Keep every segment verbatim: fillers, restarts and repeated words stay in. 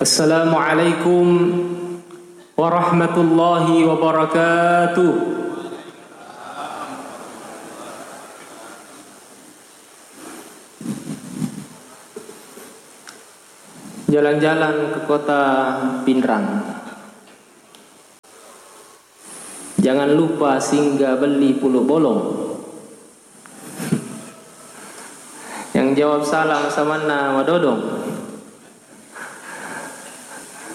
Assalamualaikum warahmatullahi wabarakatuh. Jalan-jalan ke kota Pinrang. Jangan lupa singgah beli pulu bolong. Yang jawab salam samanna madodong.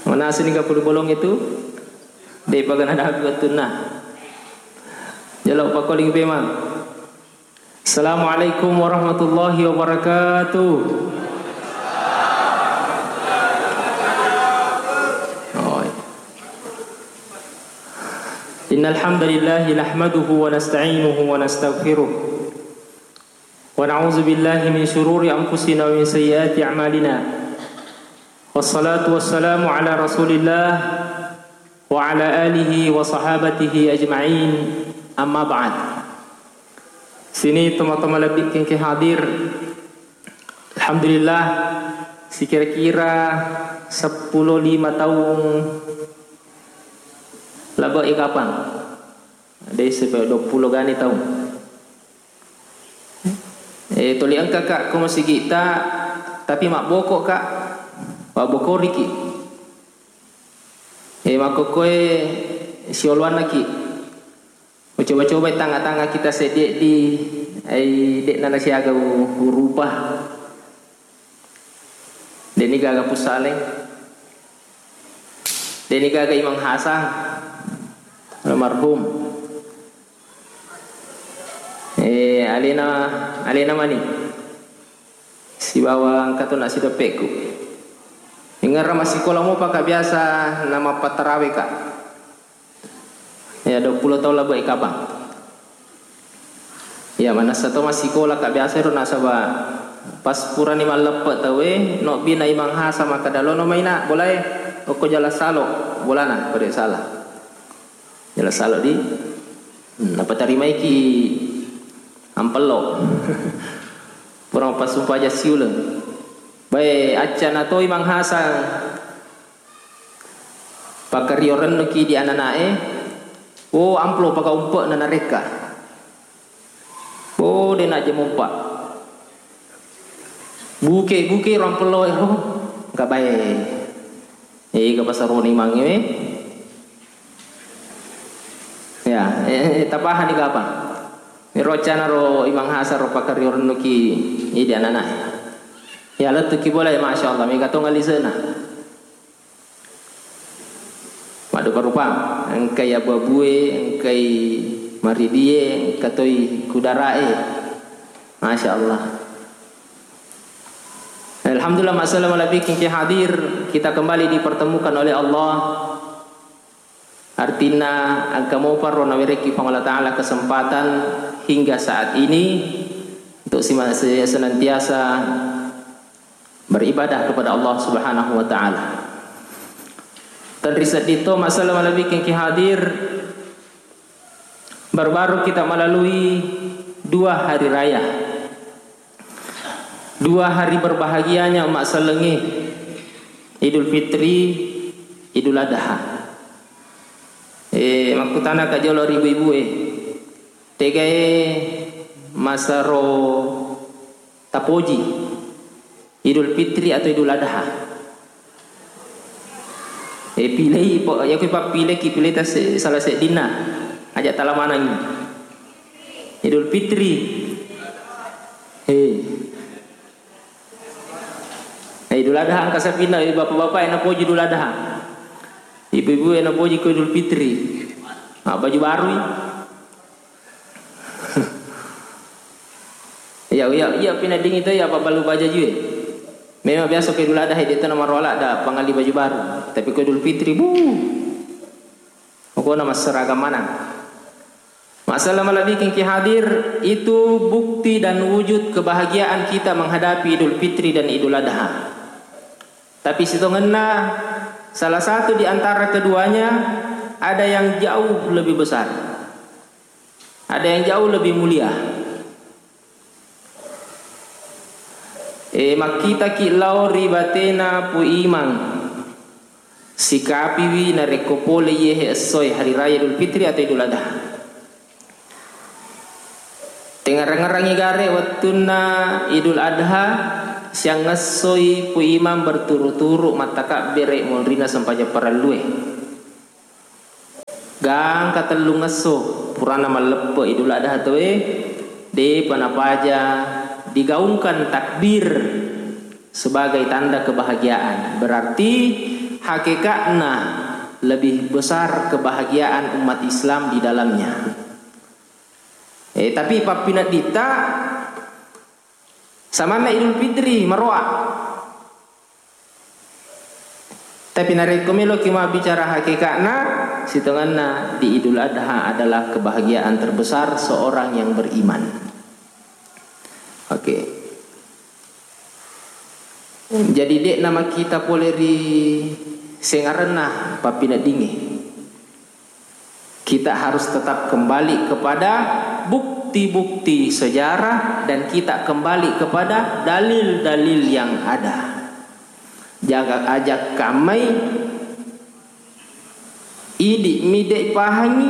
Manasuni ka pulu bolong itu? De'pa gana dapi wettunna. Jalo pakoling pemang. Assalamualaikum warahmatullahi wabarakatuh. Oh, iya. Innal hamdalillahi nahmaduhu wa nasta'inuhu wa nastaghfiruh. Wa na'udzu billahi min syururi anfusina wa min sayyiati a'malina. Wassalatu wassalamu ala Rasulillah wa ala alihi wa sahabatihi ajma'in. Amma ba'd. Sini teman-teman lebih kengke hadir. Alhamdulillah, sikira-kira seppulo lima taung labe' i kapang. Dei sepe dua puluh gani taung. Eh, toli engka ka ko masigi'ta, tapi mabboko ka, pabbokoriki. Eh, makkokkoe sioloanna ki. Ucoba-coba tangnga-tangnga kita seddi di, ai de'na nasiaga u-, urupa. De'ni gaga Pussaleng. De'ni gaga Imang Hasan. Almarhum. Eh, alena, alena mani. Sibawa engka to nassideppe'ku. Ingerra massikola mopa ka biasa namappatarawe ka. Ya, dua puluh taung labe' i kapang. Ya, manessa to massikola ka biasa ero nasaba pas purani malleppe' tauwe, nobbi na Imang Hasan makkeda, "Lono mai na bolae, okko jala salo bolana, ko de' salah." Jala salo di, hmm, napatarimaiki ampello. Pura mappassumpajang siuleng. Bae, accana to Imang Hasan pakkario rennuki di anana'e, oh, amplo paka umpe'na narekka. Oh, de' najja mompa. Buke-buke ro ampello ero, engka bae. Ega pasaroni mangnge we. Ya, eh, eh, tapahani kapang. Ero accana ro Imang Hasan ro pakkario rennuki idi anana'e. Ya, lettuki bola, ya, Masya Allah, mega tong alisena. Maddupa-rupa, engkai abu-abue, engkai maridie, engka toi kudara'e. Masya Allah. Alhamdulillah, masalah malabbiking ki hadir, kita kembali dipertemukan oleh Allah. Artinna, engka mopa ro nawerekki Puang Allah Ta'ala kesempatan hingga saat ini untuk sima-, se-, senantiasa beribadah kepada Allah Subhanahu wa Ta'ala. Tenri sedding to masalah malebbiking ki hadir, baru-baru kita melalui dua hari raya. Dua hari berbahagianya umat sellengnge, Idul Fitri, Idul Adha. Eh, makkutana ka jolo ri ibu-ibu e, tegae masero tapoji, Idul Fitri atau Idul Adha? Eh, pilei, po-, ya kui pappileki, pileta se-, salah seddinna. Aja tala manangi. Idul Fitri. Eh. Eh, Idul Adha engka sapinna, eh, bapak-bapak e napoji Idul Adha. Ibu-ibu e napoji ko Idul Fitri. Ah, baju baru i. Iya, iya, iya, pina dingin to, iya, pabbalu baju e. Memang biasa ko Idul Adha, de' to namaro ladda pangalli baju baru. Tapi ko Idul Fitri, bu. Pokokna masseragam manang. Masalah malebbiking ki hadir, itu bukti dan wujud kebahagiaan kita menghadapi Idul Fitri dan Idul Adha. Tapi sitongenna, salah satu di antara keduanya ada yang jauh lebih besar. Ada yang jauh lebih mulia. E, makkitaki lao ri batena Pu Imang. Sikapiwi narekko pole iyehe essoe hari raya Idul Fitri atau Idul Adha. Tengngerang-ngerangi gare wettunna Idul Adha, siangngessoi Pu Imam berturu-turu mattakabbere monrina sempajang parellue. Gangka tellungesso purana malleppe Idul Adha tauwe, depa napaja digaungkan takbir sebagai tanda kebahagiaan. Berarti hakekatna lebih besar kebahagiaan umat Islam di dalamnya. Eh, tapi pappinedditta samanna Idul Fitri maroa. Tapi narekko meloki mabbicara hakekatna, sitongenna di Idul Adha adalah kebahagiaan terbesar seorang yang beriman. Oke. Jadi, de'na makkita pole ri sengarenna pappineddingnge. Kita harus tetap kembali kepada bukti-bukti sejarah dan kita kembali kepada dalil-dalil yang ada. Jaga, aja kammai, idi mi de' pahangi,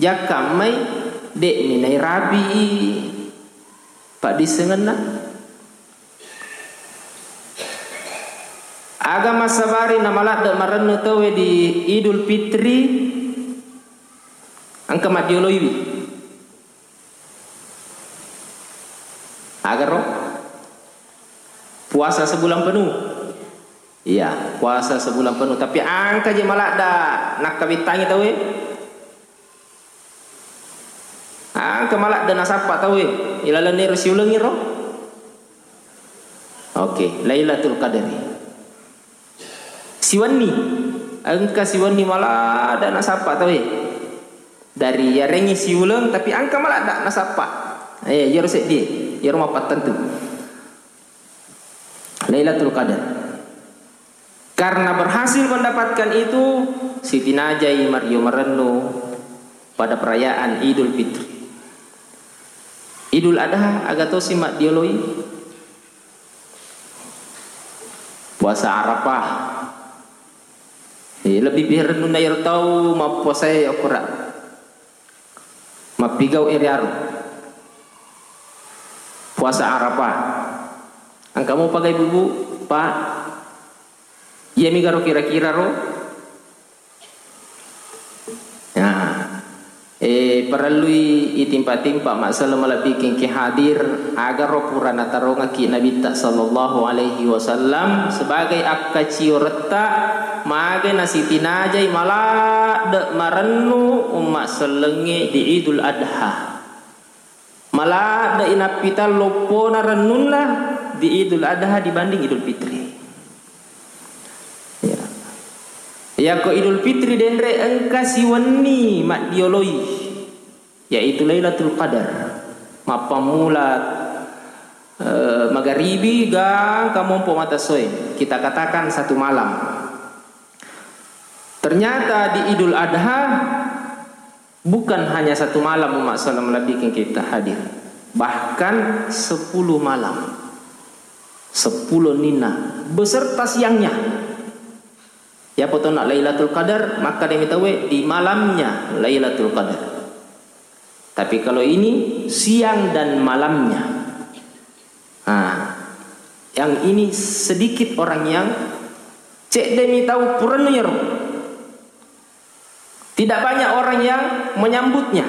jakkammai, de' mi nairapi paddissengenna. Aga massabari namaladde' marennu tauwe di Idul Fitri, engka maddioloiwi. Agaro? Puasa sebulan penuh. Iya, puasa sebulan penuh. Tapi engka je maladde' nakkabettangi tauwe. Engka maladde' nasappa tauwe ilalenna ero siulengngero. Oke, Lailatul Qadari. Siwenni, engka siwenni maladde' nasappa tauwe. Dari yarengngi siuleng, tapi engka maladde' nasappa. Eh, iyaro seddie, iyaro mappattentu. Lailatul Qadar. Karena berhasil mendapatkan itu, sitinajai mario marennu pada perayaan Idul Fitri. Idul Adha aga tosi maddioloi? Puasa Arafah. Eh, lebbi piha rennunna iyaro tau mappuasae okko ra-, mappigau iriaro. Puasa Arafah. Engka mopa ga ibu-ibu, Pak? Iyami garo kira-kira ro? Nah, eh, parellui itimpa-timpa massala malebbiking ki hadir, agaro pura natarongaki Nabitta sallallahu alaihi wasallam sebagai akkacioretta, mage nasitinajai maladde' marennu umma sellengnge di Idul Adha. Maladde'i nappitang loppona rennunna di Idul Adha dibanding Idul Fitri. Ya. Yako Idul Fitri denre engka siwenni maddioloi, yaitu Lailatul Qadar. Mappammula, eh, magaribi gangka mompo mata soe, kita katakan satu malam. Ternyata di Idul Adha, bukan hanya satu malam, umma sallam, lebbiking kita hadir, bahkan sepuluh malam, sepuluh nina beserta siangnya. Ya, potona Lailatul Qadar, maka demi tawe di malamnya Lailatul Qadar. Tapi kalau ini siang dan malamnya. Nah, yang ini sedikit orang yang cedde mi tau purennu yero. Tidak banyak orang yang menyambutnya.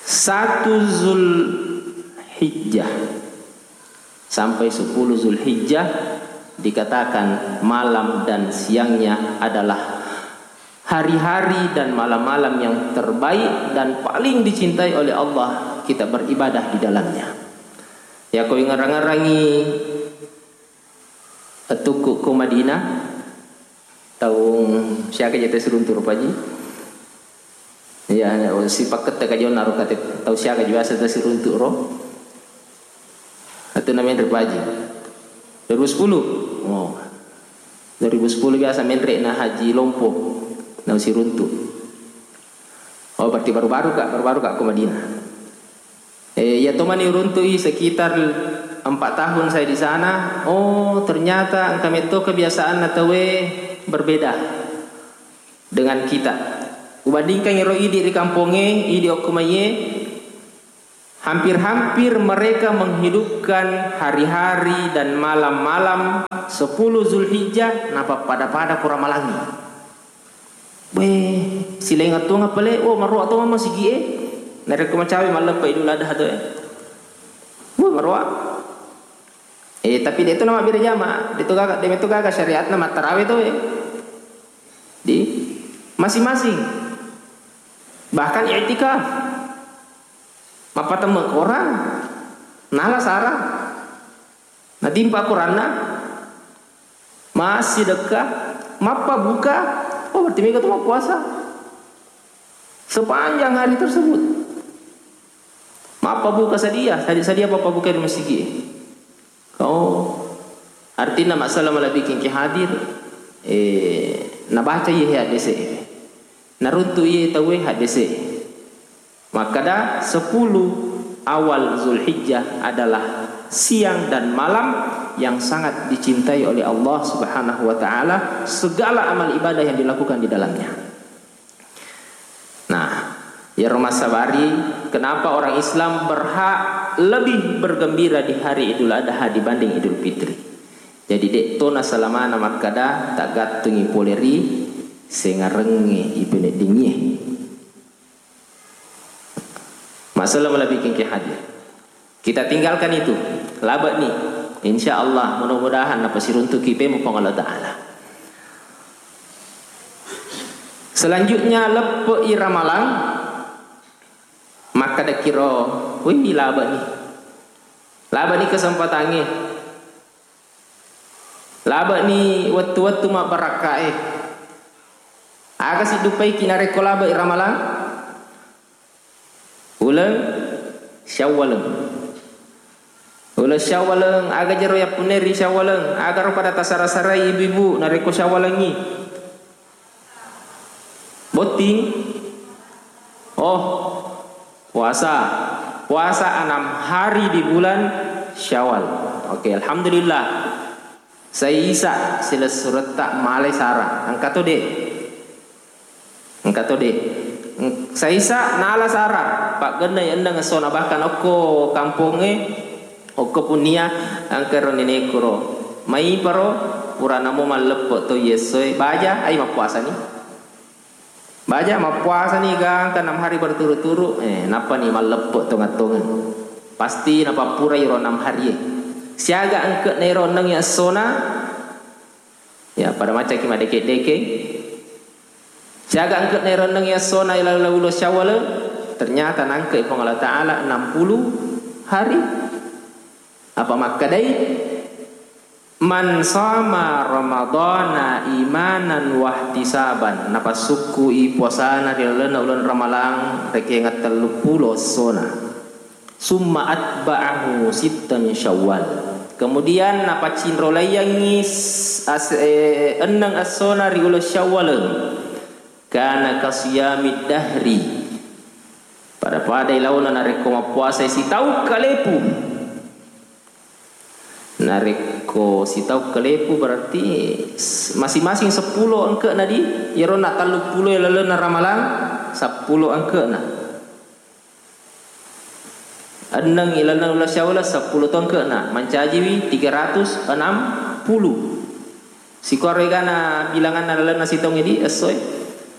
Satu Zulhijjah sampai sepuluh Zulhijjah dikatakan malam dan siangnya adalah hari-hari dan malam-malam yang terbaik dan paling dicintai oleh Allah kita beribadah di dalamnya. Ya, ko ingerang-ngerangi Wettukku ko Madinah, taung siaga je tau siruntu ro, Pak Haji? Iya, sipakkette ka jonna ro kate tau siaga je biasa tau siruntu ro. Atu na menre, Pak Haji? Dua ribu sepuluh. Oh. Dua ribu sepuluh biasa menre na Haji Lompo, na siruntu. Oh, berarti baru-baru ka, baru-baru ka ko Madinah. Eh, iya tomani uruntu'i sekitar empat tahun saya di sana, oh, ternyata engka metto kebiasaanna tauwe berbeda dengan kita. Kubandingkan ero idi ri kampongnge, idi okko maiye, hampir-hampir mereka menghidupkan hari-hari dan malam-malam sepuluh Zulhijjah, napappada-pada ko Ramalangngi. Weh, silaing atuang pale, oh, maroa to mama sigi e. Narekko macawe malleppa Idul Adha to e. Wah, maroa. Eh, tapi de to namabbere jama, de to gaga, de to gaga syariatna mattarawe to e. Di masing-masing. Bahkan i'tikaf. Mappatemme Quran. Nala sara. Natimpa Quranna. Massidekka. Mappabuka. Oh, berarti mega to mappuasa. Sepanjang hari tersebut. Mappabuka sadia, sadia, sadia pappabuka di masigi. Oh, artinya masalah malebbiking ki hadir, eh, nabaca iye haddese. Naruntu iye tauwe haddese. Makkada sepuluh awal Zulhijjah adalah siang dan malam yang sangat dicintai oleh Allah Subhanahu wa Ta'ala, segala amal ibadah yang dilakukan di dalamnya. Nah, iyaro massabari, kenapa orang Islam berhak lebih bergembira di hari Idul Adha dibanding Idul Fitri? Jadi, de to nasalamana makkada taggattungi pole ri sengarengnge ipeneddingie. Masalah malebbiking ki hadir. Kita tinggalkan itu. Labani. Insya Allah, mudah-mudahan napasiruntuki pemu Puang Allah Ta'ala. Selanjutnya, leppe'i Ramalang, makkedakiro, wih, labani. Labani kesempatangnge. Labani wettu-wettu mabbarakkae. Aga siddupaiki narekko labe'i Ramalang? Uleng Syawaleng. Uleng Syawaleng, aga jero yappunnai ri Syawaleng? Agaro pada tasara-sarai ibu-ibu narekko Syawalengngi? Botting? Oh, puasa. Puasa enam hari di bulan Syawal. Oke, alhamdulillah. Saisa silessuretta malai sara. Engka to, Dek? Engka to, Dek? Eng-, saisa nala sara. Paggennai enneng essona, bahkan okko kampongnge, okko punnia, engka ro nenekku ro. Maiparo, purana mo malleppe to iye essoe. Baja, ai mappuasani. Baja mappuasani gangka enam hari berturut-turut, eh, nappani malleppe tongeng-tongeng. Pasti napappurai ro enam harie. Siaga engke'na ero enneng essona, ya, pada macaki madeke-deke. Siaga engke'na ero enneng essona ilaleng uleng Syawal, ternyata nangke'i Puang Allah Ta'ala enam puluh hari. Apa makkedai? "Man shoma Ramadhana imanan wahtisaban," napassukkui puasana ri lalenna uleng Ramalang rekeng telluppulo essona. "Summa atba'ahu sitta min Syawal." Kemudian napaccinrolaiyangngi s-, as-, eh, enneng essona ri uleng Syawal. "Kana kasiyamid dahri." Pada-padai laona narekko mappuasai sitaung kalepu. Narekko sitaung kalepu berarti s-, masing-masing seppulo engke'na di, iyaro na telluppulo lalenna Ramalang, seppulo engke'na. Enneng ilalenna uleng Syawal, seppulo to engke'na, mancajiwi tiga ratus enam puluh. Sikuaro egana bilanganna lalenna sitaung di essoe.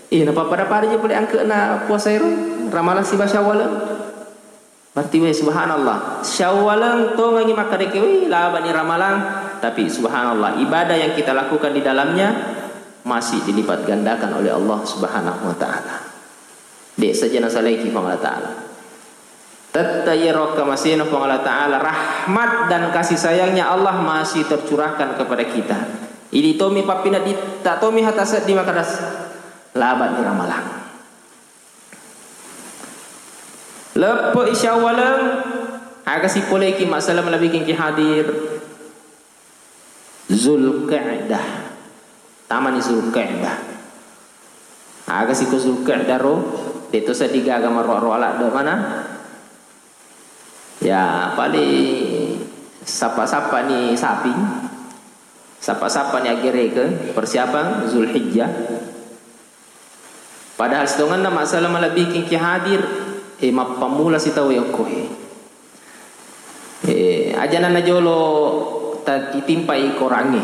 Eh, napapada-pada je pole engke'na puasa ero, Ramalang siba Syawal. Berarti, weh, subhanallah. Syawaleng tongengi makkedeke, wih, labani Ramalang. Tapi, subhanallah, ibadah yang kita lakukan di dalamnya masih dilipat gandakan oleh Allah Subhanahu wa Ta'ala. De' saja nasalaiki Puang Allah Ta'ala. Tette' iyaro kamasena Puang Allah Ta'ala, rahmat dan kasih sayangnya Allah masih tercurahkan kepada kita. Idi tomi pappineddi, tak tomi hata seddi makadas, labani Ramalang. Leppe'i Syawaleng, aga sipoleki masalah malebbiking ki hadir. Zulqa'dah. Tamani Zulqa'dah. Aga siko Zulqa'dah ro, de' to seddi gaga maroa-roa ladde' mana. Ya, paling sappa-sappa ni saping, sappa-sappa ni aggereke, persiapan Zulhijjah. Padahal sitongenna masalah malebbiking ki hadir, eh, mappammula sitau yokko he. Eh, aja nanna jolo ta-, itimpai korangnge.